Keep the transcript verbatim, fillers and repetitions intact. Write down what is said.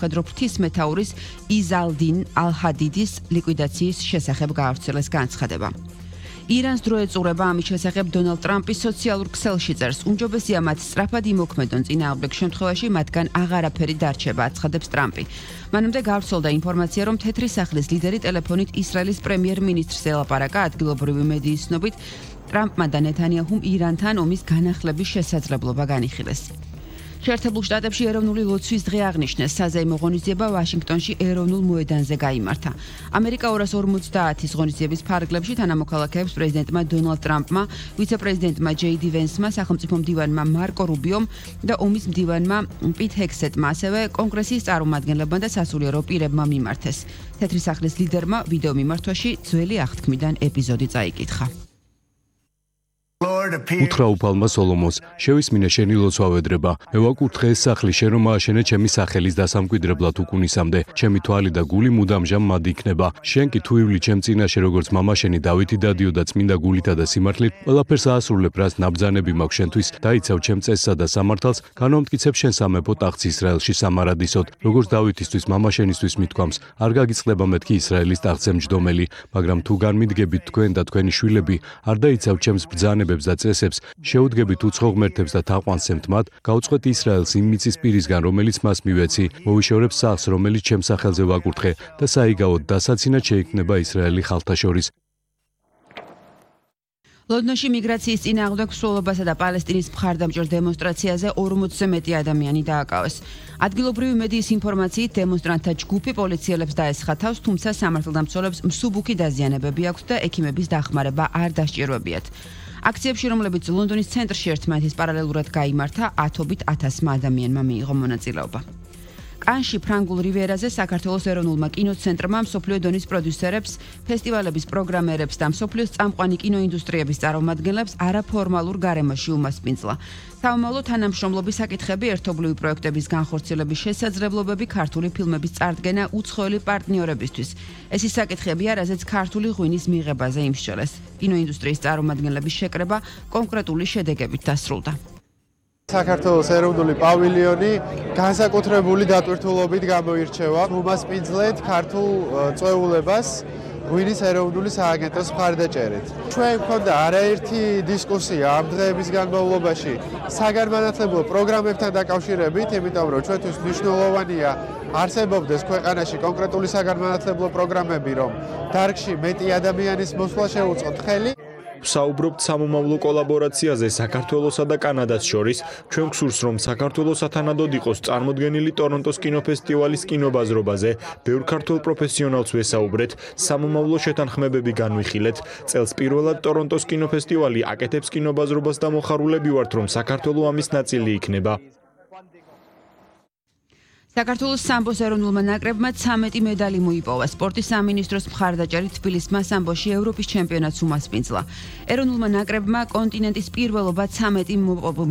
Kadro ღვთისმეთაურის იზალდინ ალ-ჰადიდის ლიკვიდაციის შესახებ გაავრცელეს განცხადება. ირანს დრო ეწურება ამის შესახებ დონალდ ტრამპის სოციალურ ქსელში წერს. უმჯობესია მათ სწრაფად იმოქმედონ წინააღმდეგ შემთხვევაში მათგან აღარაფერი დარჩება, აცხადებს ტრამპი. მანამდე გავრცელდა ინფორმაცია, რომ თეთრი სახლის ლიდერი ტელეფონით ისრაელის პრემიერ-მინისტრს ელაპარაკა ადგილობრივი მედიის ცნობით ტრამპმა და ნეთანიაჰუმ ირანთან ომის განახლების შესაძლებლობა განიხილეს. შეერთებულ შტატებში ეროვნული ლოცვის დღე აღნიშნეს. საზეიმო ღონისძიება ვაშინგტონში ეროვნულ მოედანზე გაიმართა. ამერიკა ორას ორმოცდაათის ღონისძიების ფარგლებში თანამოქალაქეებს პრეზიდენტმა დონალდ ტრამპმა, ვიცე-პრეზიდენტმა ჯეი დი ვენსმა, სახელმწიფო მდივანმა მარკო რუბიომ და ომის მდივანმა პიტ ჰექსეტმა, ასევე კონგრესის წარმომადგენლებმა და სასულიერო პირებმა მიმართეს. თეთრი სახლის ლიდერმა ვიდეო მიმართვაში ძველი აღთქმიდან ეპიზოდი წაიკითხა. უთხრა უფალმა სოლომონს, შევისმინე შენი ლოცვა ვედრება. მე ვაკურთხე ეს სახლი, შენ რომ ააშენე ჩემი სახელის დასამკვიდრებლად უკუნისამდე. ჩემი თვალი და გული მუდამჟამ მად იქნება. შენ კი თუ ივლი ჩემ წინაშე როგორც მამა შენი დავითი დადიოდა წმინდა გულითა და სიმართლით, ყველაფერს აასრულებ, რაც ნაბრძანები მაქვს შენთვის. დაიცავ ჩემ წესსა და სამართალს, განვამტკიცებ შენ სამეფო ტახტს ისრაელში სამარადისოდ, როგორც დავითისთვის მამა შენისთვის მithქვამს. არ გაგიწყდება მეთქი ისრაელის ტახტზე მჯდომელი, მაგრამ თუ განმიდგებით თქვენ და თქვენი შვილები, არ დაიცავ ჩემს ბრძანებებს და წესებს, შეუდგებით უცხო ღმერთებს და თაყვანს მათ, გაუწყვეტ ისრაელს იმ მიწის პირისგან, რომელიც მას მივეცი, მოვიშორებ სახლს, რომელიც ჩემ სახელზე ვაკურთხე და საიგავოდ დასაცინად შეიქმნება ისრაელი ხალხთა შორის. ლონდონში მიგრაციის წინააღმდეგ მსვლელობასა და პალესტინის მხარდამჭერ დემონსტრაციაზე ორმოცზე მეტი ადამიანი დააკავეს. ადგილობრივი მედიის ინფორმაციით დემონსტრანტთა ჯგუფი პოლიციელებს დაესხა თავს, თუმცა სამართალდამცველებს მსუბუქი დაზიანებები აქვთ და ექიმების დახმარება არ დასჭირვებიათ. აქციებში, რომლებიც ლონდონის ცენტრში ერთმანეთის პარალელურად გაიმართა, ათობით ათასმა ადამიანმა მიიღო მონაწილეობა. კანში ფრანგულ რივიერაზე საქართველოს ეროვნულმა კინოცენტრმა მსოფლიო დონის პროდიუსერებს, ფესტივალების პროგრამერებს და მსოფლიოს წამყვანი კინოინდუსტრიების წარმომადგენლებს არაფორმალურ გარემოში უმასპინძლა. საომავლო თანამშრომლობის საკითხები, ერთობლივი პროექტების განხორციელების შესაძლებლობები, ქართული ფილმების წარდგენა უცხოელი პარტნიორებისთვის. ეს ის საკითხებია, რაზეც ქართული ღვინის მიღებაზე იმსჯელეს. კინოინდუსტრიის წარმომადგენლების შეკრება კონკრეტული შედეგებით დასრულდა. საქართველოს ეროვნული პავილიონი განსაკუთრებული დატვირთულობით გამოირჩევა. უმასპინძლეთ ქართულ წვეულებას ღვინის ეროვნული სააგენტოს მხარდაჭერით. ჩვენ გვქონდა არაერთი დისკუსია ამ დღეების განმავლობაში საგანმანათლებლო პროგრამებთან დაკავშირებით, იმიტომ რომ ჩვენთვის მნიშვნელოვანია არსებობდეს ქვეყანაში კონკრეტული საგანმანათლებლო პროგრამები, რომ დარგში მეტი ადამიანის მოსვლა შეუწყოთ ხელი. ვსაუბრობთ სამომავლო კოლაბორაციაზე საქართველოსა და კანადას შორის. ჩვენ გვსურს, რომ საქართველოს ათანადოდ იყოს წარმოდგენილი ტორონტოს კინოფესტივალის კინობაზრობაზე. ბევრ ქართულ პროფესიონალს ვესაუბრეთ, სამომავლო შეთანხმებები განვიხილეთ. წელს პირველად ტორონტოს კინოფესტივალი აკეთებს კინობაზრობას და მოხარულები ვართ, რომ საქართველო ამის ნაწილი იქნება. საქართველოს სამბოს ეროვნულმა ნაკრებმა ცამეტი მედალი მოიპოვა. სპორტის სამინისტროს მხარდაჭერით თბილისმა სამბოში ევროპის ჩემპიონატს უმასპინძლა. ეროვნულმა ნაკრებმა კონტინენტის პირველობა ცამეტი